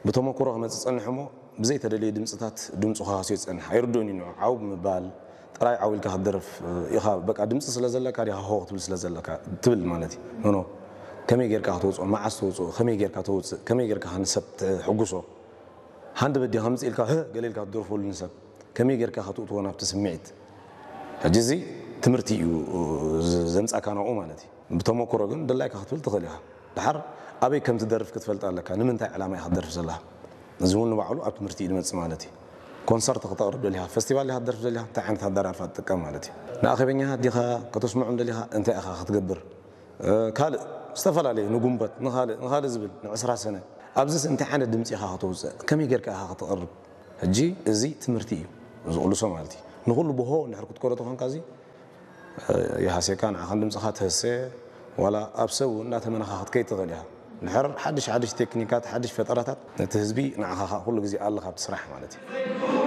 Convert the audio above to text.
ብተመክሮ ክመፅእ ፀንሕ እሞ ብዘይተደለየ ድምፅታት ድምፁ ክሃስዮ ይፀንሕ። ኣይርድኡን እዩ ንዑ። ዓው ብምባል ጥራይ ዓው ኢልካ ክትደርፍ ኢኻ። በቃ ድምፂ ስለ ዘለካ ዲኻ ሆ ክትብል ስለ ዘለካ ትብል ማለት እዩ። ኖ፣ ኖ። ከመይ ጌርካ ከተውፅኦ፣ መዓስ ተውፅኦ፣ ከመይ ጌርካ ተውፅእ፣ ከመይ ጌርካ ንሰብ ተሕጉሶ። ሃንደበት ዲኻ ከምፅእ ኢልካ፣ "ህእ" ገለ ኢልካ ትደርፈሉ ንሰብ። ከመይ ጌርካ ከተእትዎ ናብቲ ስምዒት። ሕጂ እዚ ትምህርቲ እዩ ዝ-፣ ዘምጻካ ናብኡ ማለት እዩ። ብተመክሮ ግን ድላይካ ክትብል ትኽእል ኢኻ። ድሓር ኣበይ ከም ትደርፍ ክትፈልጥ ኣለካ። ንምንታይ ዕላማ ኢኻ ትደርፍ ዘለኻ? እዚ እውን ንባዕሉ ኣብ ትምህርቲ እዩ ዝመጽእ ማለት እዩ። ኮንሰርት ከተቕርብ ደሊኻ፣ ፈስቲቫል ዲኻ ትደርፍ ደሊኻ፣ እንታይ ዓይነት ኣደራርፋ ትጥቀም ማለት እዩ። ንኣኼበኛታት ዲኻ ከተስምዖም ደሊኻ፣ እንታይ ኢኻ ክትገብር? እ፣ ካልእ ዝተፈላለየ ንጉንበት፣ ንኻልእ፣ ንኻልእ ዝብል፣ ንዕስራ ሰነ። ኣብዚስ እንታይ ዓይነት ድምጺ ኢኻ ከተውጽእ? ከመይ ጌርካ ኢኻ ከተቕርብ? ሕጂ እዚ ትምህርቲ እዩ ዝቕልሶ ማለት እዩ። ንኹሉ ብሆ እንድሕር ክትኮዶ ተኾንካ እዚ፣ እ፣ ይሃስየካ፣ ንዓኻን ድምጽኻ ትህሰ፣ ዋላ ኣብ ሰብ እውን እንዳተመነኻ ክትከይድ ትኽእል ኢኻ። እንድሕር ሓድሽ ሓድሽ ቴክኒካት፣ ሓድሽ ፈጠራታት ነቲ ህዝቢ ንዓኻ ኸኣ ኩሉ ግዜ ኣለኻ ኣብቲ ስራሕ ማለት እዩ።